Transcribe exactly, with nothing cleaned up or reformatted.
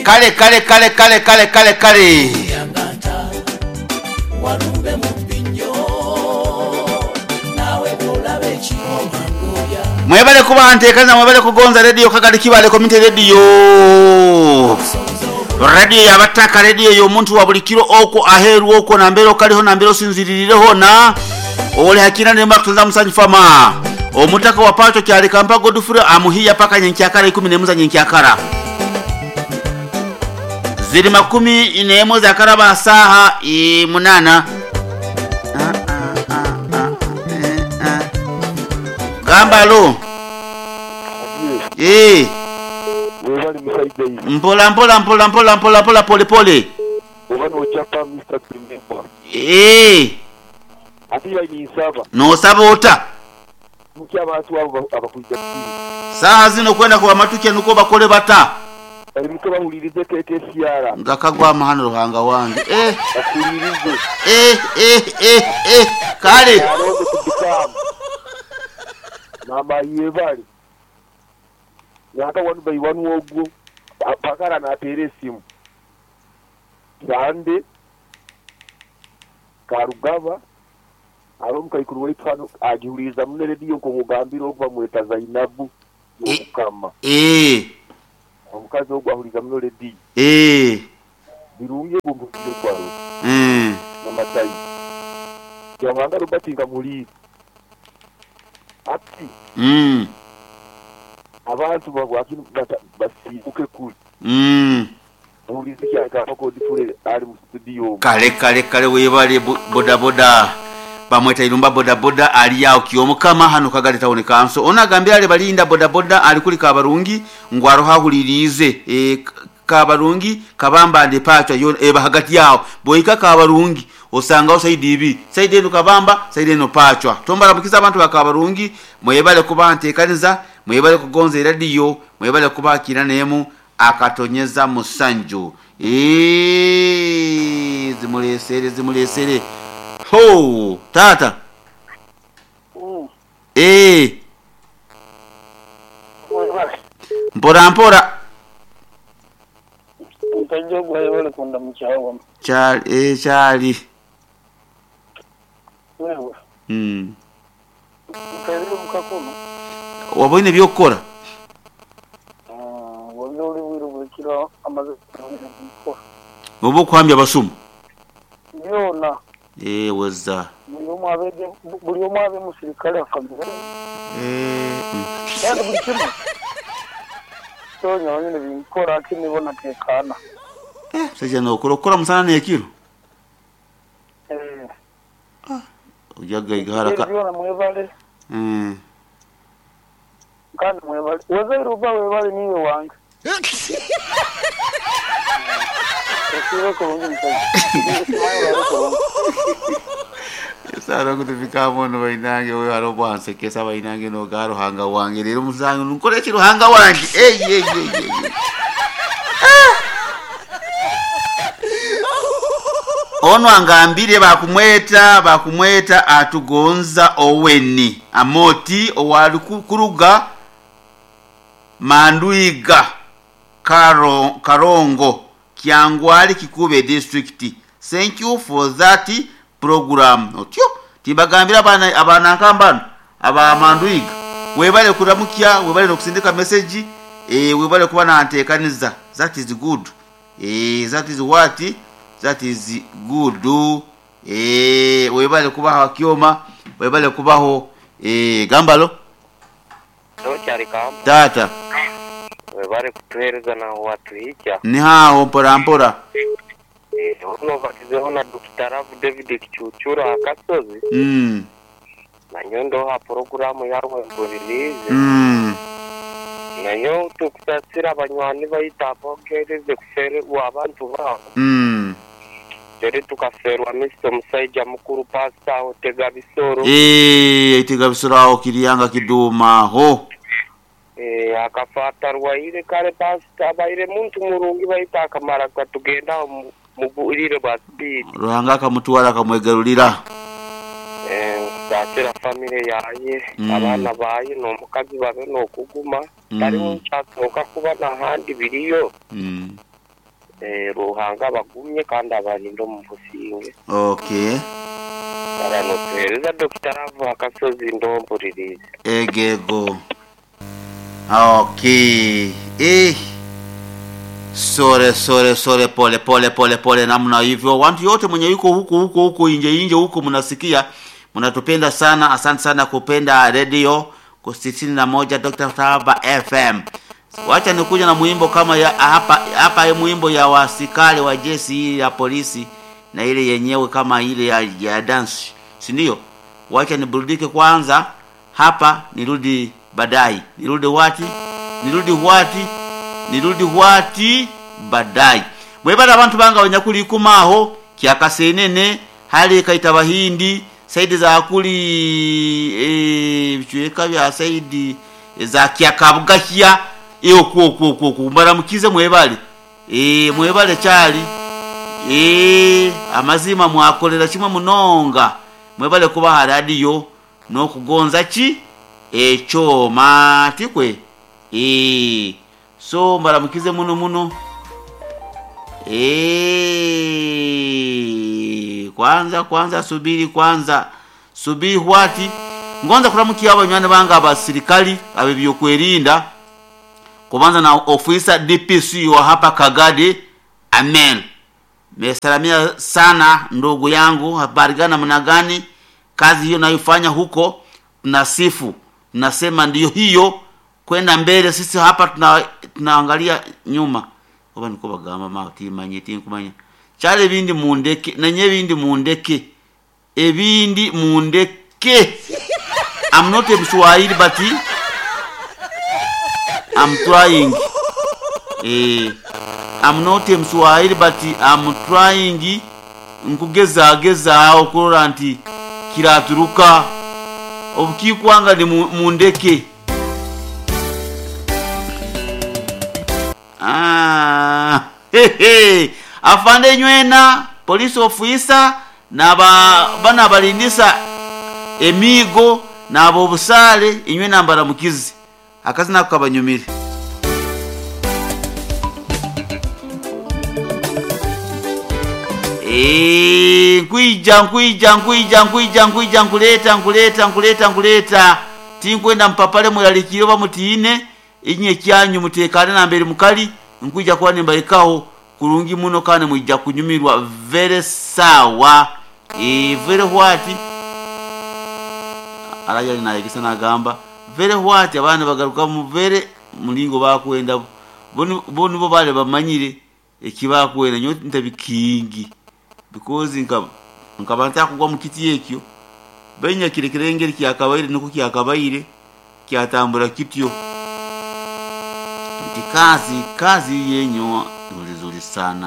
Kale kale kale kale kale kale kale. Mwebale kuba ntekaniza, mwebale kugonza radio Kagadi Kibale Community Radio. Radio yabataka, radio y'omuntu wa buli kiro okwo aheru okwo nambere okaliho nambere osinziririreho na ole hakina nemba kutunza musanyi fama. Omutaka wa pacho kyali kampa Godfrey amuhiya paka nyenkyakara ikumi n'emu za nyenkyakara. Ziri makumi n'emu za karaba saha i munana. Ah, ah, ah, ah, eh, ah. Gamba lo. Eh. Mpola mpola mpola mpola mpola mpola pole pole. Eh. No sabota. Saha zino kwenda kwa matuke nuko bakole bata. Ngakagwa mahano ruhanga wange. Eh. Eh eh eh eh kale. Mama yebali. Nyaka wanu by wanu ogwo pakara na atere simu. Sande Karugaba aromuka ikuru waitu agihuriza mune radio ko mugambira okuva mweta Zainabu mukama. Eh. Omukazi ogwo ahuriza mune radio. Eh. Birungi gumbukire kwaro. Mm. Namatayi. Yamanga Robert ngamuli. Ati. Mm. Abantu bagwaki basibuke kuli. Mm. Kale kale kale webale boda boda. Bamweta Irumba boda boda ali yao kiyomukama hano Kagadi Town Council. Ona gambira ale balinda boda boda ali kuli Kabarungi ngwaro hahulirize e, Kabarungi Kabamba ndi pacha yo eba hagati yao. Boika Kabarungi osanga osaidi ibi. Saidi eno Kabamba, saidi eno pachwa. Tombara mukiza abantu ba Kabarungi mwebale kuba ntekaniza, mwebale kugonza radio, mwebale kuba kinanemu akatonyeza musanju. Eh zimulesere zimulesere. Ho tata. Mm. Eh. Mpora mpora. Ntajo gwayole kunda mchawa. Chali eh chali. Wewe. Mm. Karibu mkakoma. Waboine byokora. Ah, wabyo uli bukiro amaze gukora. Obo kwambya basumu. Byona. Eh weza. Buli omu abe buli omu abe musirikale afamire. Eh. Kandi buli kimwe. Tonya nyine binkora kinibona tekana. Eh, seja no kurokora musana nekiro. Eh. Ah, ujaga igaraka. Byona mwebale. Mm. Kandi mwebale. Weza iruba webale niwe wange. Sara kutufika mono bainange we haro bwanse kesa bainange no garo hanga wange rero musange nkore kiro hanga wange eh eh eh eh ono angambire bakumweta bakumweta atugonza oweni amoti owali kuruga Manduiga Karo, Karongo Kyangwali Kikube district. Thank you for that program. Otyo tibagambira abana abana nkambano aba Manduiga webale kuramukia, webale nokusindika message eh webale kuba nantekaniza. That is good. Eh that is what that is good. Eh webale kuba hakioma, webale kubaho eh gambalo tata webale kutuhereza na watu hija ni hao mpora mpora eh ono batizeho na Doctor Rav David Kichuchura akasozi mm na nyondo ha programu yarwe mbulirize mm nayo tukusasira abanywani bayita bogereze kufere abantu babo mm tere tukaferwa Mister Musaija mukuru pastor Otega Bisoro eh Otega Bisoro aho kiriyanga kiduma ho eh akafata rwaire kare pastor baire muntu murungi bayita akamara katugenda mubulire bwa speed Ruhanga akamutwara akamwegarulira eh kusasira family yaye mm. Abana baye no mukazi babe no kuguma mm. Tari nchatoka kuba na handi biriyo mm. Eh, Ruhanga abagumye kandi abarinde omu businge. Okay. Baranotuhereza Dokita Ravu akasozi ndompuririze. Egego. Okay. Eh. Sore sore sore pole pole pole pole namna hivyo. Watu yote mwenye yuko huko huko huko inje inje huko mnasikia. Mnatupenda sana. Asante sana kupenda radio kwa sitini na moja Doctor Taba F M. Wacha nikuja na mwimbo kama ya hapa hapa hii mwimbo ya wasikali wa jeshi hii ya polisi na ile yenyewe kama ile ya, ya dance. Si ndio? Wacha niburudike kwanza hapa, nirudi baadaye. Nirudi wati? Nirudi wati? Nirudi wati baadaye. Mwebala abantu banga abanyakuli kumaho kyakasenene hali kaita bahindi saidi za kuli eh bichweka bya saidi za kyakabugahya iyo kuo kuo kuo kumbaramukize mwebale eh mwebale cyali eh amazima mwakolera kimwe munonga mwebale kuba radio no kugonza ki ekyoma tikwe eh so mbaramukize muno muno eh kwanza kwanza subiri kwanza subiri hwati ngonza kuramukia abanywana banga abasirikali abebyokwerinda kubanza na ofisa D P C wa hapa Kagadi. Amen. Nimesalamia sana ndugu yangu, habari gani namna gani? Kazi hiyo naifanya huko, tunasifu, tunasema ndiyo hiyo kwenda mbele. Sisi hapa tuna tunaangalia nyuma. Oba niko bagamba ma timanye tinkumanya. Chale bindi mundeke, nenye bindi mundeke. Ebindi mundeke. I'm not a Mswahili but I'm trying. Eh, I'm not a Mswahili but I'm trying. Nkugeza geza okurora nti kiraturuka obukikwanga ni mundeke. Ah, hey, hey. Afande nywena police officer na ba bana balindisa emigo nabo busale inywe nambara mukizi akazi nako kabanyumire. Eh, nkwija nkwija nkwija nkwija nkwija nkuleta nkuleta nkuleta nkuleta tinkwenda mpapale mulalikiro bamutiine inye kyanyu mutekane na mbere mukali nkwija kwa nimbaikaho kurungi muno kane mwijja kunyumirwa very sawa. Eh, very what araja nayegesa nagamba very what abana bagaruka mu very mulingo bakwenda bo nibo bale bamanyire ekibakwenda nyo ntabikingi because nka nkaba ntakugwa mu kiti ekyo benya kirekerengeri kyakabaire nuko kyakabaire kyatambura kityo nti kazi kazi yenyo nzuri sana.